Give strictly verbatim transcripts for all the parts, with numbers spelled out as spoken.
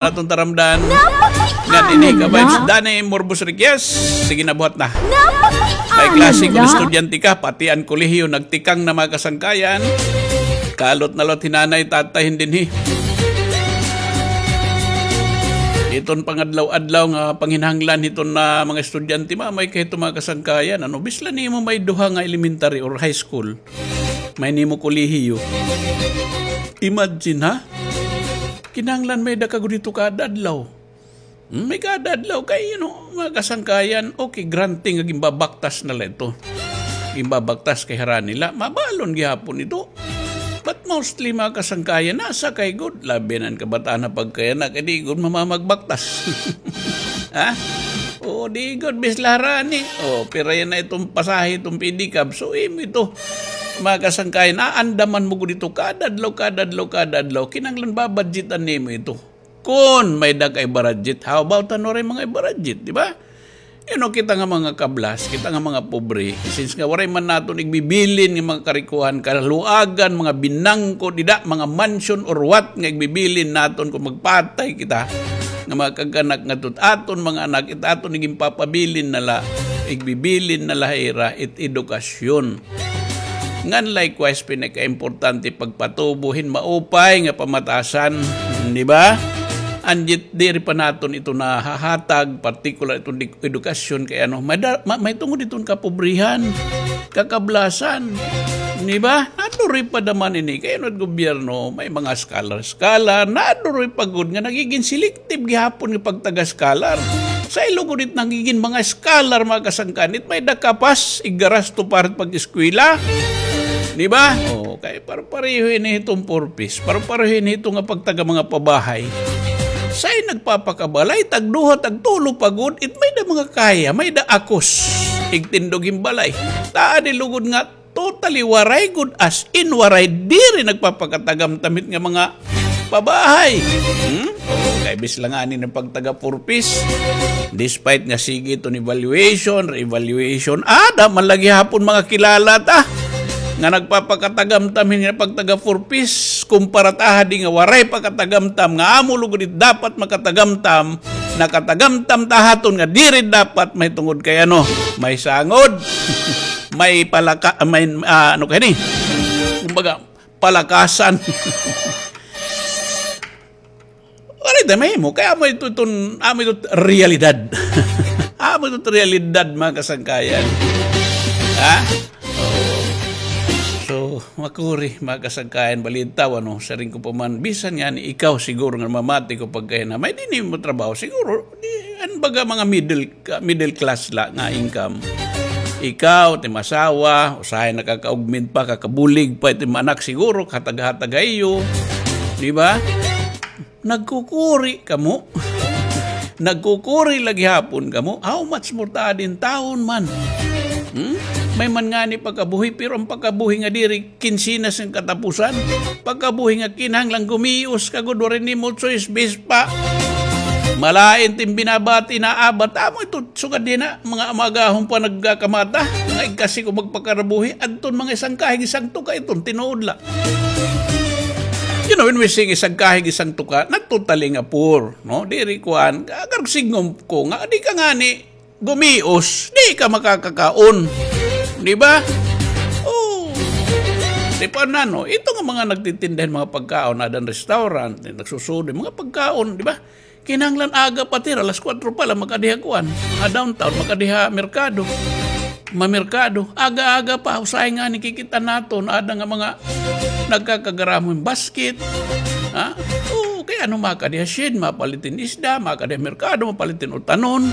aton taramdan. Nga dinhi ka ba, Danny Morbos Riquez? Sige na, buhat na. May klase kon estudyante ka, pati an kolehiyo nagtikang na, mga kasangkayan. Kalot na lot hi nanay, tatay, dinhi. Iton pangadlaw-adlaw nga panginahanglan hiton na mga estudyante, maamay kay hito, mga kasangkayan. Ano, bisla nimo may duha nga elementary or high school. May nimo kolehiyo. Imagine, ha? Kinahanglan may da ka gud hito kada adlaw. Hmm, may kada adlaw kay, you know, mga kasangkayan, okay, granting nga ginbabaktas na la ito. Ginbabaktas kay harani la, mabalon gihapon ito. But mostly, mga kasangkayan, nasa kay gud, labi na an kabataan na pagkayana, kay di gud mamamagbaktas. Ha? Oo, di gud, bisla harani. O, pira yana iton pasahe, iton pedicab. So, imo ito. Mga kasangkayan, aandaman mo gud ito kada adlaw, kada adlaw, kada adlaw. Kinahanglan babudgetan nimo ito. Kon may da ka ibudget, how about an waray mga ibudget, di ba? You know, kita nga mga kablas, kita nga mga pobre, since nga waray man naton igbibilin nga mga karikuhan, kaluagan, mga binangko, dida, mga mansion or what nga igbibilin naton kon magpatay kita, nga mga kag-anak ngadto ha aton mga anak, it aton iginpapabilin na la, igbibilin na la ha ira, it edukasyon. Ngan likewise, pinakaimportante pagpatubo hin maupay nga pamatasan, di ba? Anjit diri pa naton ito nahahatag, partikular iton di-, edukasyon kay ano, may da-, ma-, may tungod iton kapobrihan, kakablasan, di ba? Naduroy pa daman ini, kay ano, gobyerno, may mga scholar-scholar, naduroy pa gud nga nagigin selective gihapon nga pagtaga-scholar. Sa ilog gud it nagigin mga scholar, mga kasangkayan, it may da kapas, igarasto pa it pag-eskwela. Di ba? O, kay pare-pareho ini hiton purpose. Pare-pareho ini hito nga pagtaga mga pabahay. Say nagpapakabalay, tagduha, tagtulo pa gud, it may da mga kaya, may da akos. Igtindog hin balay. Taa di lugod nga totally waray gud, as in waray, diri nagpapakatagamtam hit nga mga pabahay. Hmm? Kay bisla ngani nga pagtaga purpose. Despite nga sige iton evaluation, re-evaluation, ada man la gihapon mga kilala ta nga nagpapakatagamtam hin nga pagtaga purpose, kumpara ta ha di nga waray pakatagamtam nga amo lugod it dapat makatagamtam, nakatagamtam ta ha aton nga diri dapat, may tungod kay ano, may sangod. May palaka-, may, ah, ano kay ni? Kumbaga, palakasan. Waray ta mahimo, kay amo ito iton, amo ito realidad. Amo ito realidad, mga kasangkayan. Ha? So, makuri, mga kasangkayan, balitaw, ano, siring ko pa man, bisan ngani ikaw siguro nga mamati ko pagkahinamay, di nimo trabaho, siguro, di, an baga mga middle, ka-, middle class la nga income. Ikaw, it im asawa, usahay nakaka-augment pa, kakabulig pa, it im anak siguro, kahatag-hatag ha iyo. Di ba? Nagkukuri kamo. Nagkukuri la gihapon kamo. How much more ta adi intawon man? Hmm? May man ngani pagkabuhi, pero an pagkabuhi nga diri kinsinas nga katapusan. Pagkabuhi nga kinahanglan gumios ka gud, waray nimo choice, bis pa. Malain it im binabati, naabat. Amo ito, sugad dinhi na, mga amaagahon pa nagkakamata. Mga igkasi ko magpakarabuhi. Adton mga isang kahig, isang tuka iton, tinuod la. You know, when we sing isang kahig, isang tuka, not totally nga poor, no? Diri kuan, agar signgom ko nga, di ka ngani gumios, di ka makakakaon. Di ba? Oh. Di pa na, no? Ito nga mga nagtitinda hin mga pagkaon, ada han restaurant, nagsusudo, mga pagkaon, di ba? Kinahanglan aga pa it ira, alas kuwatro pa la, makadi ha kuan, ha downtown, makadi ha merkado. Mamerkado. Aga-aga pa, usahay ngani kikit-an naton, ada nga mga nagkakagaramo hin basket. Ha? Oo, kay ano, makadi ha shed, mapalit hin isda, makadi ha merkado, mapalit hin utanon.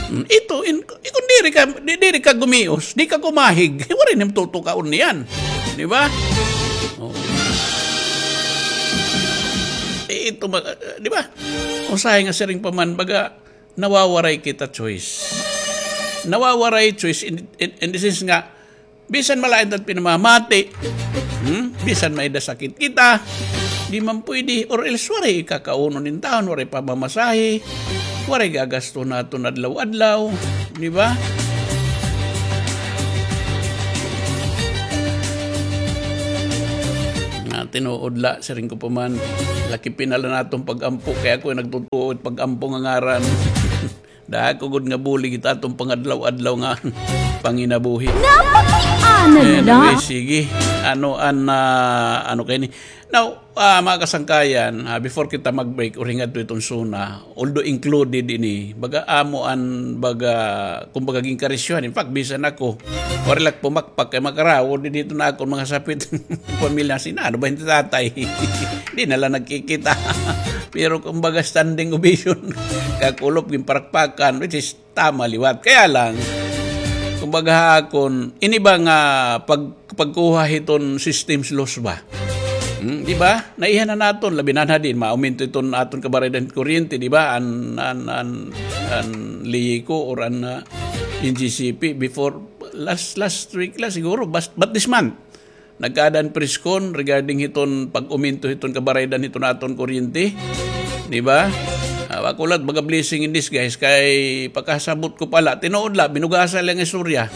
Hmm, ito, in, ikon diri ka, di, diri ka gumios, di ka kumahig, waray nim tutukaon niyan. Di ba? Oh. Eh, ito, ma-, di ba? Usahay nga siring pa man, baga, nawawaray kita choice. Nawawaray choice in, in, in the sense nga, bisan malain ta it pinamamati, hmm? Bisan may-ada sakit kita, di man pwede, or else waray ikakaunon intawon, waray pamamasahe, waray gagasto naton adlaw-adlaw, di ba? Nga, Tinuod la, siring ko pa man, laki pinala naton pag-ampo, kay ako nagtutuo it pag-ampo nga ngaran. Dako gud nga bulig it aton pangadlaw-adlaw nga panginabuhi. Napakiana. Anyway, la, sige. Ano an, ah, ano kay ni? Now, ah, mga kasangkayan, ah, before kita mag-break, uring adto iton SONA, although included ini, baga amo an, baga, kumbaga, ginkarisyohan. In fact, bisan ako, wari la pumakpak kay makarawod dito na akon mga sapit pamilya. Sina, ano ba yung tatay? Di na lang nagkikita. Pero kumbaga, standing ovation, kakulop, ginparakpakan, which is tama liwat. Kaya lang, kumbaga ha akon, ini ba nga pag, pagkuha hiton system's loss ba? Hmm, di ba? Naiha na naton, labi na na din, mauminto iton aton kabaraydan kuryente, di ba? An, an, an, an LEEDCO or an, ah, N G C P before last, last week la siguro, but, but this month, nagkaada an press con regarding hiton pag-uminto hiton kabaraydan hiton aton kuryente. Di ba? Ah, ako la, baga blessing in disguise, kay pakasabot ko pala, tinuod la, binugasan la nga istorya.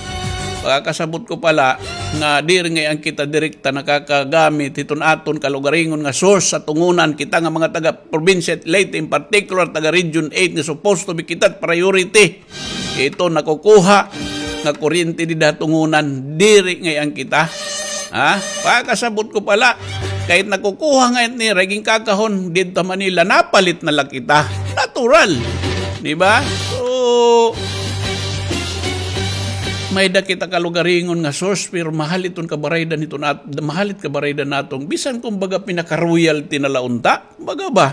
Pakasabot ko pala nga diri ngay-an kita direkta nakakagamit hiton aton kalugaringon nga source sa tungunan, kita nga mga taga probinsya Leyte, in particular taga Region eight nga supposed to be kita priority. Ito nakukuha nga kuryente dida ha tungunan, diri ngay-an kita. Ha? Pakasabot ko pala, kay nakukuha ngay-an nira, ginkakahon didto ha Manila, napalit na la kita. Natural. Di ba? So, may-ada kita kalugaringon nga source, pero mahal iton kabaraydan hiton at, mahal it kabaraydan naton. Bisan kumbaga pinaka-royalty na la unta. Kumbaga ba?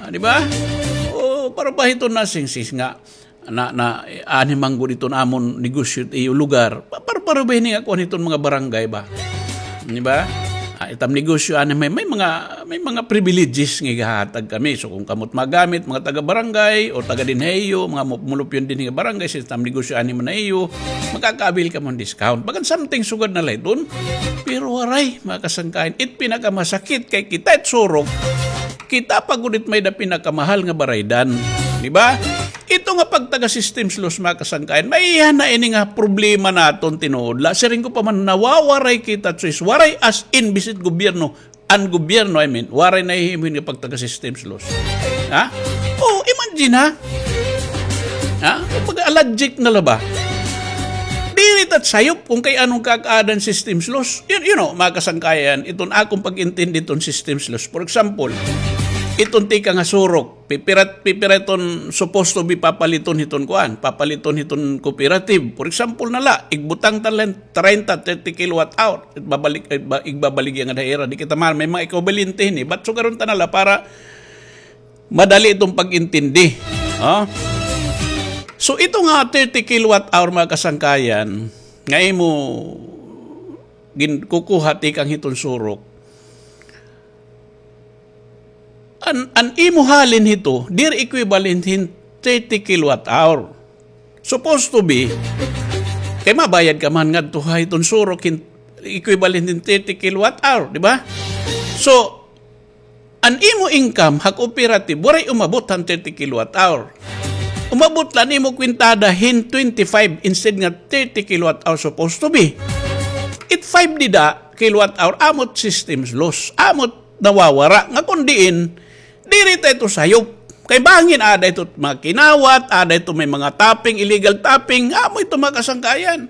Ah, di ba? O, para ba hiton nasingsis nga na, na, eh, anhi man gud iton amon negosyo it iyo lugar. Pa-, para, para ba hini nga kuan hiton mga barangay ba? Di ba? Ah, itam negosyo, anhi may, may mga, may mga privileges nga igahatag kami. So, kung kamo it magamit, mga taga-barangay o taga dinhi ha iyo, mga mu-, mulupyon dinhi nga barangay, sa itam negosyo, anhi man ha iyo, makaka-avail kamo hin discount. Bagan something sugad na la iton. Pero waray, mga kasangkayan, it pinakamasakit kay kita it surok, kita pa gud it may-ada pinakamahal nga baraydan. Di ba? Ito nga pagtaga system's loss, mga kasangkayan, maiha na ini nga problema naton tinuod la. Siring ko pa man, nawawaray kita, choice. Waray as in, bisan gobyerno. An gobyerno, I mean, waray nahihimo hin nga pagtaga system's loss. Ha? O, imagine, ha? Ha? Kumbaga, allergic na la ba? Diri ta sayop kung kay ano an kakaada han system's loss. You, you know, mga kasangkayan, iton akon pag-intindi hiton system's loss. For example, iton tikang ha surok, Pipira, pipira iton supposed to be papaliton hiton kuan, papaliton hiton cooperative. For example na la, igbutang ta la hin treinta, thirty kilowatt hour. Igbabalik, igba-, igbabaligya ngada ha ira. Di kita man, may mga ekwibalente hini. But sugaron ta na la para madali iton pag-intindi. Ha? So, ito nga thirty kilowatt hour, mga kasangkayan, nga imo ginkukuha tikang hiton surok. An, an imo halin hito, diri equivalent hin thirty kilowatt hour. Supposed to be, kay mabayad ka man ngadto ha hiton surok hin equivalent hin thirty kilowatt hour, di ba? So, an imo income ha cooperative, waray umabot han thirty kilowatt hour. Umabot la an imo kwintada hin twenty-five instead nga thirty kilowatt hour supposed to be. It five dida kilowatt hour, amo it system's loss, amo it nawawara, nga kon diin, diri ta ito sayop. Kay bangin, aada ito mga kinawat, aada ito may mga tapping, illegal tapping, amo ito mga kasangkayan.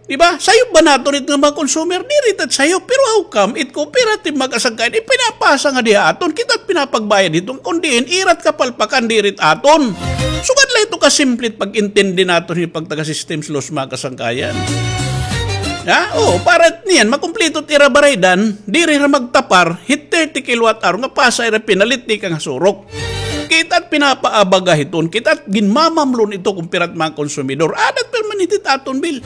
Di ba? Sayop ba naton it nga mga consumer? Diri ta sayop. Pero how come it cooperative mga kasangkayan, ipinapasa ngadi ha aton, kita it pinapagbayad hito, kon diin, ira it kapalpakan, diri it aton. Sugad la ito kasimple it pag-intindi naton hin pagtaga system's loss mga kasangkayan. Ha? Oo, para niyan, makumpleto it ira baraydan, diri hira magtapar hit thirty kilowatt hour nga pasa ira pinalit tikang ha surok. Kita it pinapaabaga hiton, kita it ginmamamlon ito kon pira it mga konsumidor. Aada it permanente it aton bill.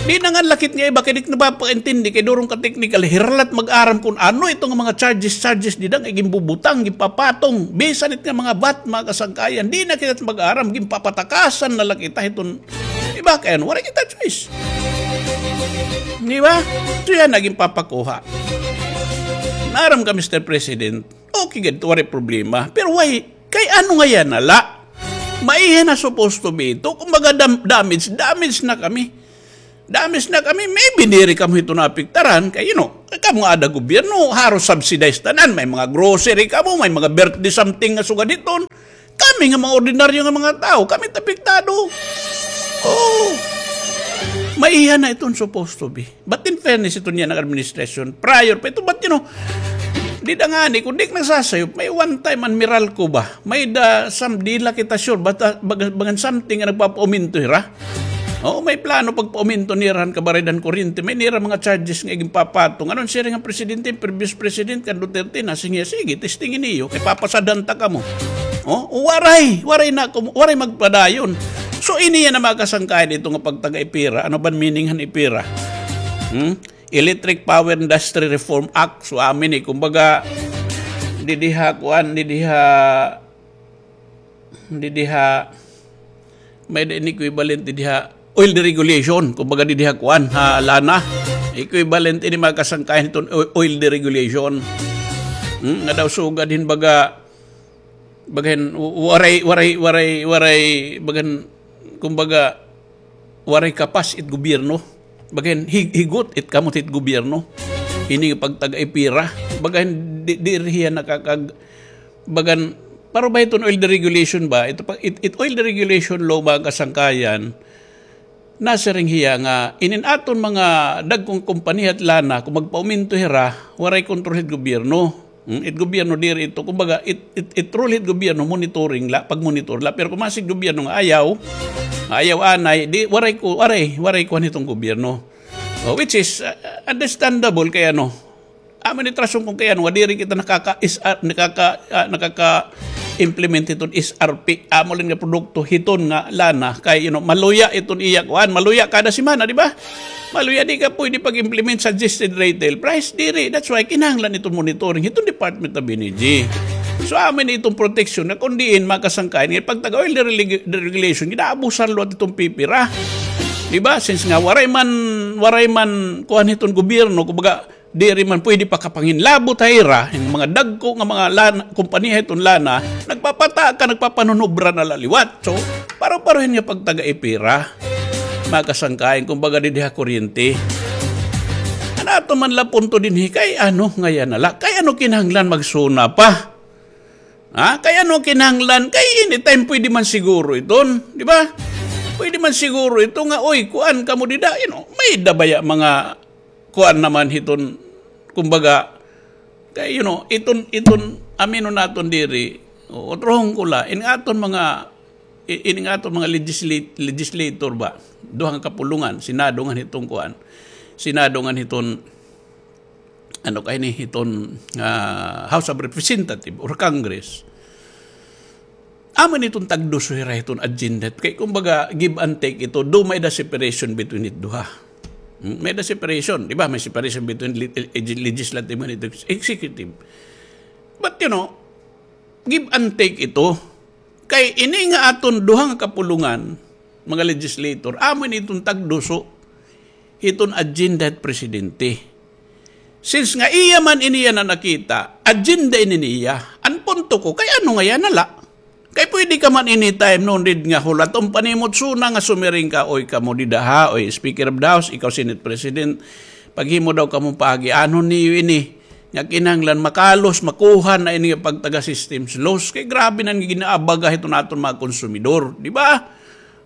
Di na nga lakit nga iba kay di napapakaintindi kay durong ka technical, hira la it mag-aram kon ano ito nga mga charges, charges dida nga ginbubutang, ginpapatong. Bisan it nga mga VAT, mga kasangkayan, di na kita mag-aram, ginpapatakasan na la kita hiton Di ba? Kay ano, waray kita choice. Di ba? So yana, ginpapakuha. Naaram ka, Mister President, okay gad, waray problema. Pero why? Kay ano nga yana la? Maiha na supposed to be ito. Kumbaga, dam-, damage, damage na kami. Damage na kami. Maybe diri kamo hito naapektaran. Kay, you know, Kamo nga ada gobyerno, haros subsidized tanan. May mga grocery kamo, may mga birthday something nga sugad hiton. Kami nga mga ordinaryo nga mga tao, kami it apektado. Oh. Maiha na iton supposed to be. But in fairness, ito niya ng administration, prior pa ito. But you know, dida ngani, kung di ka nagsasayop, may one time an Meralco ba? May da, some, di la kita sure, but uh, bagan, bagan something nga nagpapauminto hira. Oo, may plano pagpauminto nira han kabarid han kuryente. May nira mga charges nga iginpapatong. Ano an siring han presidente, previous president kan Duterte, nasiring hiya, sige, testingi niyo, kay papasadhan ta kamo. Oh, waray, waray na, waray magpadayon. So, ini yana mga kasangkayan, ito nga pagtaga-EPIRA. Ano ba an meaning han EPIRA? Hmm? Electric Power Industry Reform Act. So, amin eh, kumbaga, didiha, kuan, didiha, didiha, may da ini equivalent didiha, oil deregulation, kumbaga didiha, kuan, ha, lana. Equivalent ini mga kasangkayan hiton o-, oil deregulation. Hmm, nga daw sugad hin baga, bagan, waray, waray, waray, waray, bagan, kumbaga, waray kapas it gobyerno. Bagan, hig-, higot it kamot it gobyerno. Ini nga pagtaga-EPIRA. Bagan, di, diri hiya nakakag-, bagan, para ba iton oil deregulation ba? Ito pa, it, it oil deregulation law ba kasangkayan? Nasiring hiya nga, inin aton mga dagkong kompanya it lana, kung magpauminto hira, waray kontrol hit gobyerno. Hmm, it gobyerno diri ito, kumbaga, it, it, it role hit gobyerno, monitoring la, pagmonitor la. Pero kung masig gobyerno nga ayaw, ayaw anay, di, waray ko, waray, waray kuan hiton gobyerno. Oh, which is uh, understandable kay ano, amo ni it rason kung kay ano, nga diri kita nakaka-, is, ah, nakaka-, ah, nakaka-implement hiton S R P. Amo lang nga produkto hiton nga lana. Kay, you know, maluya iton iya kuan, maluya kada semana, di ba? Maluya, di ka pwede pag-implement suggested retail price, diri. That's why kinahanglan iton monitoring hiton Department of Energy. So, amo ni iton protection na kung diin makasangkayan nga pagtaga oil dereg-, deregulation, ginaabusar liwat iton EPIRA. Di ba? Since nga waray man, waray man kuan hiton gobyerno, kumbaga, diri man pwede pakapanginlabot ha ira, hin mga dagko nga mga lana, kompanya hiton lana, nagpapataka, nagpapanunubra na la liwat. So, paro-parohin nga pagtaga-EPIRA, mga kasangkayan, kumbaga, didi ha kuryente. An aton man la punto dinhi, kay ano ngay-an na la? Kay ano kinahanglan mag-SONA pa? Ha? Kay ano kinahanglan? Kay anytime pwede man siguro iton, di ba? Pwede man siguro ito nga, oy, kuan kamo dida, you know, may-ada baya mga kuan naman hiton, kumbaga, kay, you know, iton, iton, aminon naton diri, o, utrohon ko la, in aton mga, i-, in aton mga legislat-, legislator ba, duha nga kapulongan, Senado ngan hiton kuan, Senado ngan hiton, ano kay ni, hiton, ah, House of Representative or Congress. Amo ni iton tagduso hira hiton agenda. Kay kumbaga, give and take ito. Do may-ada separation between it duha. Hmm? May-ada separation, di ba? May separation between le-, eh, legislative and executive. But, you know, give and take ito. Kay ini nga aton duha nga kapulongan, mga legislator, amo ni iton tagduso hiton agenda hit presidente. Since nga iya man ini yana nakita, agenda ini niya. An punto ko, kay ano ngay-an na la? Kay pwede ka man anytime, no need nga hulaton pa nimo it SONA nga sumiring ka, oy, kamo dida ha, oy, Speaker of the House, ikaw Senate President, paghimo daw kamo paagianon niyo ini, nga kinahanglan makalos, makuha na ini nga pagtaga systems loss. Kay grabe na an ginaabaga hiton aton mga konsumidor, di ba?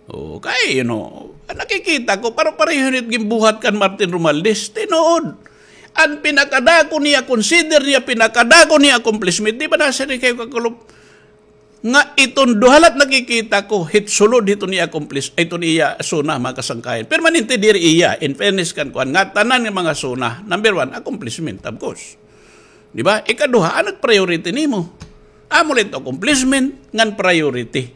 Okay, you know, nakikita ko, paro-pareho ni it ginbuhat kan Martin Romualdez. Tinuod. An pinakadako niya, consider niya, pinakadako niya accomplishment. Di ba nasiring kayo kakulop? Nga iton duha la it nakikita ko, hit sulod hiton iya accomplish, iton iya SONA, mga kasangkayan. Permanente diri iya, in fairness kan kuan, ngatanan nga mga SONA, number one, accomplishment, of course. Di ba? Ikaduha, ano it priority nimo? Amo la it accomplishment ngan priority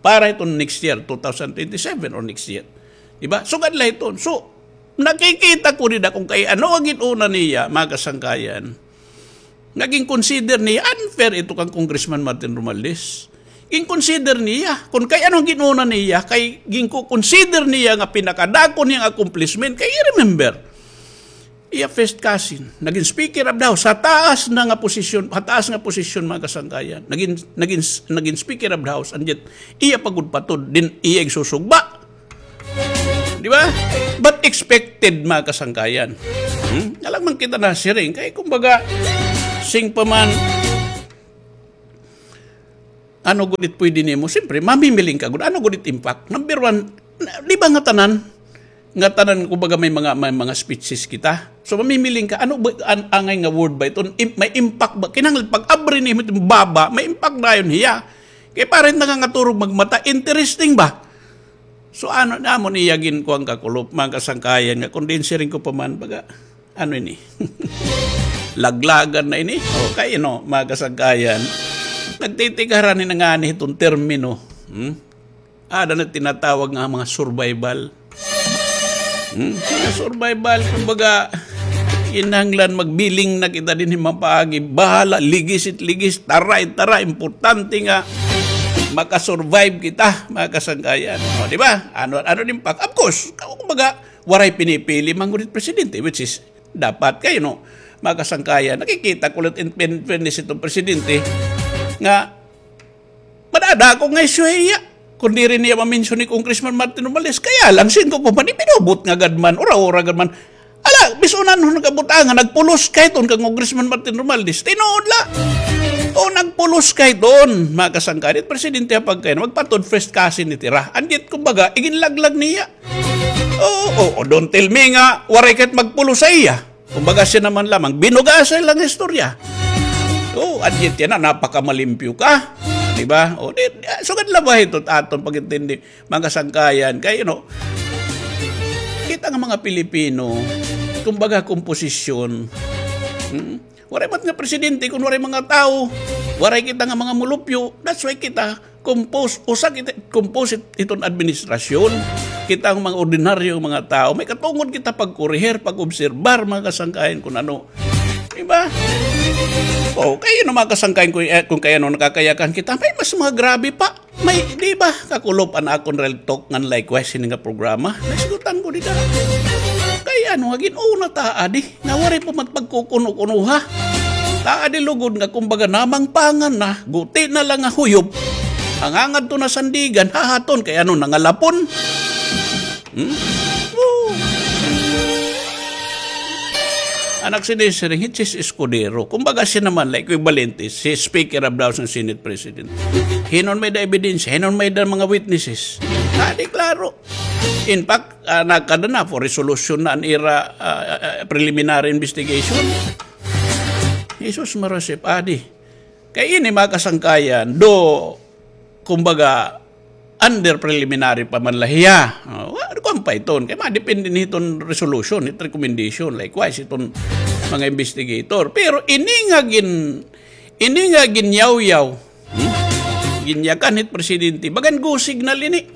para hiton next year, two thousand twenty-seven or next year. Di ba? Sugad la hiton. So, nakikita ko dida kung kay ano an gin-una niya, mga kasangkayan. Nga gin-consider niya, unfair ito kan Congressman Martin Romualdez. Gin-consider niya, kung kay ano an gin-una niya, kay gin-consider niya nga pinakadako niyang accomplishment, kay remember, iya first cousin, nagin Speaker of the House, sa taas na nga posisyon, sa taas nga posisyon, mga kasangkayan. Nagin, nagin, nagin Speaker of the House, and yet, iya pa gud patod, din iya igsusugba. Di ba? But expected, mga kasangkayan. Hmm? Alang man kita nasiring. Kay kumbaga, sing pa man, ano gud it pwede nimo? Siyempre, mamimiling ka gud. Ano gud it impact? Number one, na- di ba nga tanan? Nga tanan, kumbaga, may mga, may mga speeches kita. So, mamimiling ka, ano ba, an- angay nga word ba ito? Im- may impact ba? Kinahanglan pag-abri nimo itong baba, may impact dayon hiya. Kay parang nangangaturog magmata, interesting ba? So, ano, amo niya ginkuwang kakulop, mga kasangkayan nga, kung diin siring ko pa man, baga, ano ini? Laglagan na ini? O, kay, no, mga kasangkayan, nagtitigaran ni nangani itong termino. Hmm? Ada na tinatawag nga mga survival. Hmm? Mga survival, kumbaga, kinahanglan magbiling na kita dinhi mapaagi. Bahala, ligis it ligis, tara it tara, importante nga makasurvive kita, mga kasangkayan. O, di ba? Ano, ano din pak? Of course, kumbaga, waray pinipili man gud it presidente, which is dapat kayo, no? Mga kasangkayan, nakikita ko ulit in, in fairness itong presidente nga madadako nga isyu hiya. Kung diri niya mamensyon ni Congressman Martin Romualdez, kaya lang, singko pa man, ipinubot nga gad man, ura-ura gad man. Ala, bisunan ho nagkabutangan, nagpulos kay ton kang Congressman Martin Romualdez. Tinuod la. O, nagpulos kay ton, mga kasangkayan. It presidente ha pagkain, magpatod first cousin ni tira. Andit, kumbaga, iginlaglag niya. Oo, oo, don't tell me nga, waray kahit magpulos sa iya. Kumbaga, siya naman lamang, binugasay lang istorya. Oo, andit yan na, napakamalimpyo ka. Di ba? O, di, di, sugad la ba ito, aton pag-intindi, mga sangkayan. Kaya, you know, kita nga mga Pilipino, kumbaga, komposisyon. Hmm? Waray man nga presidente, kung waray mga tao, waray kita nga mga mulupyo, that's why kita, compose, usa kita, compose it- iton administrasyon. Kita ang mga ordinaryong mga tao, may katungod kita pagkuriher, pag-obserbar, mga kasangkayan, kung ano. Diba? O, kayo na mga kasangkayan, kung, eh, kung kaya no nakakayakan kita, may mas mga grabe pa. May, di ba, kakulop an akon real talk ngan likewise ini nga programa. Naisgutan ko dida. Kay ano, nga gin-una ta, adi. Nga waray pa man pagkukuno-kuno, ha? Taadi lugod nga kumbaga namangpangan na, guti na lang nga huyop. Ang hangad to na sandigan, hahaton, kay ano, nangalapon? Hmm? Oo. Anak si Desiree, si Escudero. Kumbaga siya naman, like, equivalente, si Speaker of the House ng Senate President. Hinon may da ebidensya, hinon may da mga witnesses. Adi, klaro. In fact, ah, nagkada na po, resolution na an ira, ah, ah, preliminary investigation. Jesus marasip, adi. Kay ini, mga kasangkayan, do, kumbaga, under preliminary pa man la hiya. O, wa- kuwan pa iton. Kay madepende ni iton resolution, it recommendation, likewise, iton mga investigator. Pero ini nga gin, ini nga ginyawyaw, hmm? Ginyakan hit presidente. Bagan go signal ini.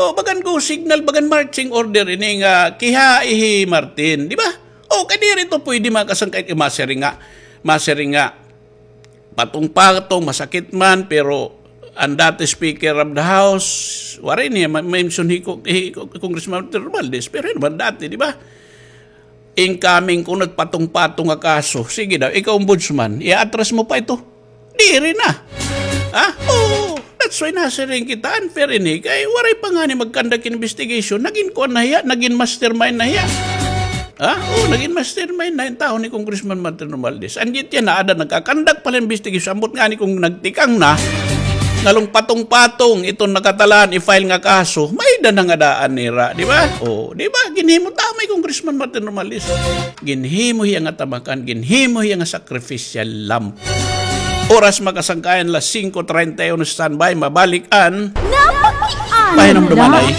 O, bagan go signal, bagan marching order ini nga kihai hi Martin, di ba? O, kay diri to pwede, mga kasangkay, kay masiring nga, masiring nga, patong-patong, masakit man, pero an dati Speaker of the House, waray niya ma- mention hi, Con- hi Con- Congressman Martin Romualdez, pero yun naman dati, di ba? Incoming kuno it patong-patong nga kaso. Sige daw, ikaw, Ombudsman, i-atras mo pa ito. Diri na. Ha? Oo. That's why nasiring kita, unfair ini. Kay waray pa ngani mag-conduct investigation. Nagin kuan na hiya, nagin mastermind na hiya. Ha? Oo, nagin mastermind na it tawo ni Congressman Martin Romualdez. Andit yana, ada nagka-conduct pa la investigation. Ambot ngani kung nagtikang na, ngalong patong-patong iton nakatalaan i-file nga kaso, may-ada na nga daan nira, di ba? O, di ba? Ginhimo tama hi Congressman Martin Romualdez. Ginhimo hiya nga tamakan, ginhimo hiya nga sacrificial lamb. Oras, mga kasangkayan, las singko treinta y uno, standby, mabalik an Napakiana Pahinumduman na. Ay.